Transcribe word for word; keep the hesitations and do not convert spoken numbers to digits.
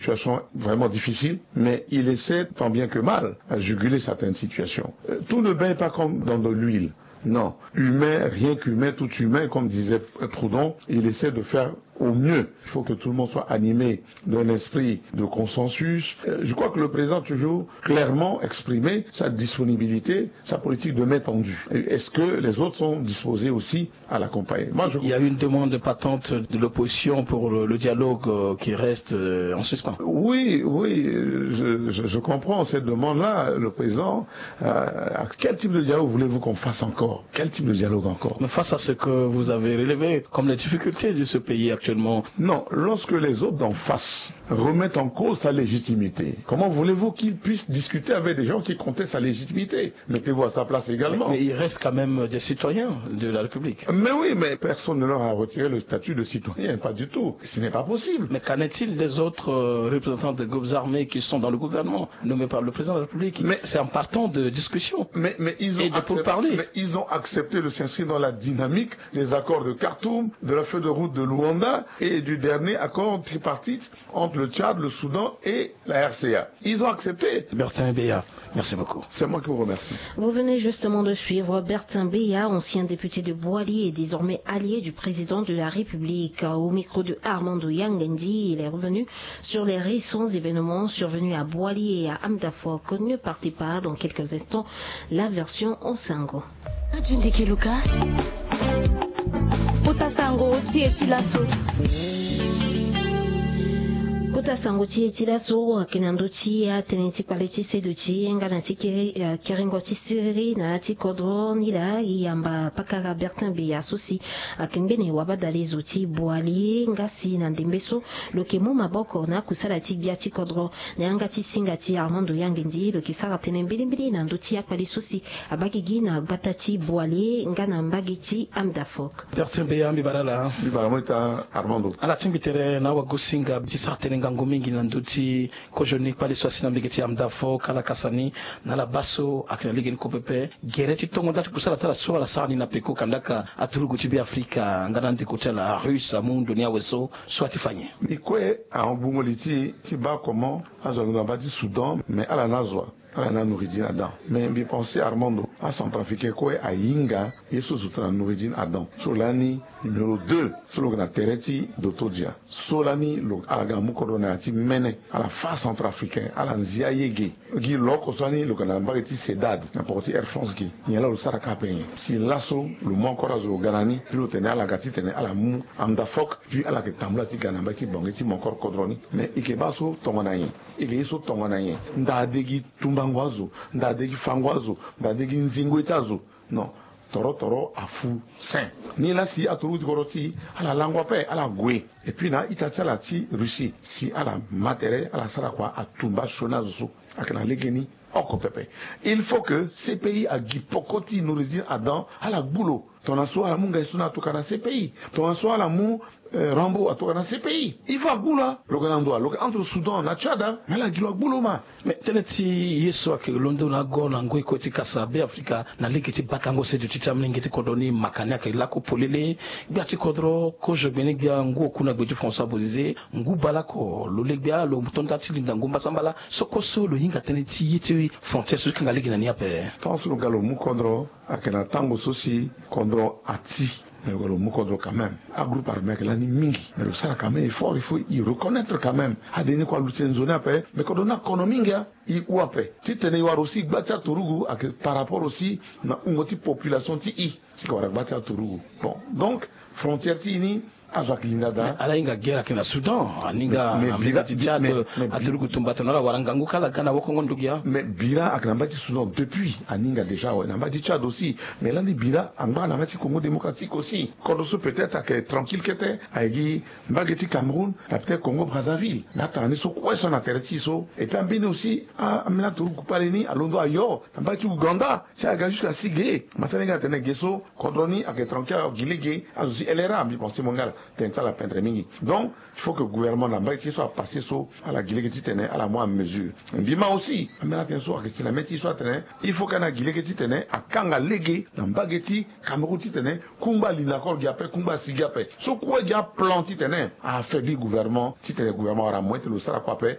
situation vraiment difficile, mais il essaie tant bien que mal à juguler certaines situations. Euh, tout ne baigne pas comme dans de l'huile. Non, humain, rien qu'humain, tout humain, comme disait Proudhon, il essaie de faire au mieux. Il faut que tout le monde soit animé d'un esprit de consensus. Euh, je crois que le président a toujours clairement exprimé sa disponibilité, sa politique de main tendue. Et est-ce que les autres sont disposés aussi à l'accompagner ? Moi, je... Il y a une demande patente de l'opposition pour le, le dialogue, euh, qui reste, euh, en suspens. Oui, oui, je, je, je comprends cette demande-là. Le président, euh, quel type de dialogue voulez-vous qu'on fasse encore ? Quel type de dialogue encore ? Mais face à ce que vous avez relevé comme les difficultés de ce pays actuellement. Non, lorsque les autres d'en face remettent en cause sa légitimité, comment voulez-vous qu'il puisse discuter avec des gens qui contestent sa légitimité ? Mettez-vous à sa place également. Mais, mais il reste quand même des citoyens de la République. Mais oui, mais personne ne leur a retiré le statut de citoyen, pas du tout. Ce n'est pas possible. Mais qu'en est-il des autres, euh, représentants des groupes armés qui sont dans le gouvernement, nommés par le président de la République ? Mais c'est en partant de discussion. Mais, mais ils ont et de accepté, pourparlers. Mais ils ont accepté de s'inscrire dans la dynamique des accords de Khartoum, de la feuille de route de Luanda et du dernier accord tripartite entre le Tchad, le Soudan et la R C A. Ils ont accepté. Bertin Beya, merci beaucoup. C'est moi qui vous remercie. Vous venez justement de suivre Bertin Beya, ancien député de Boali et désormais allié du président de la République. Au micro de Armando Yangendi, il est revenu sur les récents événements survenus à Boali et à Amdafok. Ne partez pas, dans quelques instants, la version en sango. Kota sango ti e ti laso. Kota sango ti e ti laso, ayeke na ndö ti atënë ti kpale ti sedo ti e nga na ti kiri, eh, kiringo ti siriri na ya ti kodro ni laa e yamba pakara Bertin Beya so si ayeke ngbene wabadale zo ti Boali nga si na ndembe so lo yeke mu maboko na akusala ti gbia ti kodro. Na yanga ti singa ti Armando Yangendi lo yeke sara tënë mbilimbili na ndö ti akpale so si abaa gigi na gbata ti Boali nga na mbage ti Amdafok. Bertin Beya, mbi bara ala. Mbi bara mo ita Armando. Ala tingbi tere na awagosinga ti sara tënë ngangu mingi na ndö ti kozoni kpale so asi na mbage ti Amdafok, ala kasa ni na ala baa so ayeke na legeni kue pepe gere ti tongo nda ti kusala ti ala so ala sara ni na peko kandaka aturugu ti Beafrika nga na andeko ti ala Russe amu ndo ni awe so, so ati fa nyen? Mbi kue ahon gbungo li ti e ti baa comment azo alondo na baa ti Soudan, mais ala na azo wa? Ala na Noureddine Adam. Mais mbi pense Armando, acentrafricain kue ahinga ye so zo tongana Noureddine Adam so lani numéro deux so lo yeke na tere ti Dotodia. So lani lo, ala ga na mu kodro na ya ti mene, ala fâ acentrafricain, ala nzi ayege. Gi lo oko so lani lo yeke na mbage ti Cedade na poko ti Air France gi. Nyen laa lo sara kâ ape nyen? Si laso lo mu encore azo lo ga na ni, puis lo tene ala ga titene ala mu Amdafok, puis ala yeke tambula ti ga na mbage ti Bangui ti mu encore kodro ni. Mais e yeke baa so tongana nyen? E yeke ye so tongana nyen? Nda de gi tumbango azo, nda de gi fango azo, nda de gi nzingo ye ti azo. Non. Toro toro afu sen. Ni laa si aturugu ti kodro ti e ala lango ape, ala gue. Et puis na a-ita ti ala ti Russie, si ala ma tere, ala sara kua, atumba asioni azo so ayeke na legeni oko pepe. Il faut que C P I agi poko ti Noureddine Adam, ala gbu lo. Tongana so ala mu Ngaïsouna atokua na C P I. Tongana so ala mu, eh, Rambo atokua na C P I. Il faut agbu lo. Lo yeke na ndo wa? Lo yeke entre Soudan na Tchad, ah. Mais ala gi lo agbu lo ma. Mais tënë ti ye so ayeke londo na ago na ngoi kue ti kasa Beafrika na lege ti batango seduti ti amolenge ti kodro ni, maka ni ayeke lako polele. Gbia ti kodro kozo gbeni gbia ngu oku na gbe ti François Bozizé, ngu bale oko lo le gbia lo to nda ti linda ngu mbasambala. So kue so lo hinga tënë ti ye ti frontière so ti kanga lege na ni ape. Tant so lo ga lo mu kodro, ayeke na tango so si kodro ati. Mais lo ga lo mu kodro quand même. Agroupe armé ayeke lani mingi. Mais lo sara quand même effort, il faut y reconnaître quand même. Ade ni kue aluti nzoni ape, mais kodro ni akono mingi, ah. E hu ape. Titene e wara aussi gba ti aturugu ayeke par rapport aussi na hungo ti population ti e. Si e yeke wara gba ti aturugu. Bon, donc, frontière ti e ni, azo ayeke linda daa. Mais ala hinga guerre ayeke na Soudan, aninga na mbage ti Tchad, mais, mais, mais, aturugu tumba tongana ala wara ngangu kâ ala ga na wokongo ndugia. Mais bira ayeke na mbage ti Soudan depuis, aninga déjà awe na mbage ti Tchad aussi. Mais lani bira angba na mbage ti Congo Démocratique aussi. Kodro so peut-être ayeke tranquille kete, ayeke gi mbage ti Cameroun, na peut-être Congo Brazzaville. Mais atanga ni so kue so na tere ti e so. Et puis ambeni aussi, a, ambeni aturugu kpale ni alondo ayo na mbage ti Ouganda. Si aga jusqu'à si ge, ma sani ga atene ge so, kodro ni ayeke tranquille, azo gi lege, azo ti L R A, mbi pense mo nga ala, tënë ti ala pendre mingi. Donc, il faut que gouvernement na mbage ti e so apasse so, ala gi lege titene ala mu amesure. Mbi ma aussi, ambeni atënë so ayeke si na mê ti e so atene, il faut que ani gi lege titene akanga lege na mbage ti Cameroun titene kungba alinda koro gi ape, kungba asi gi ape. So kue gi aplan titene a affaiblir gouvernement, titene gouvernement awara moyen ti lo sara kue ape,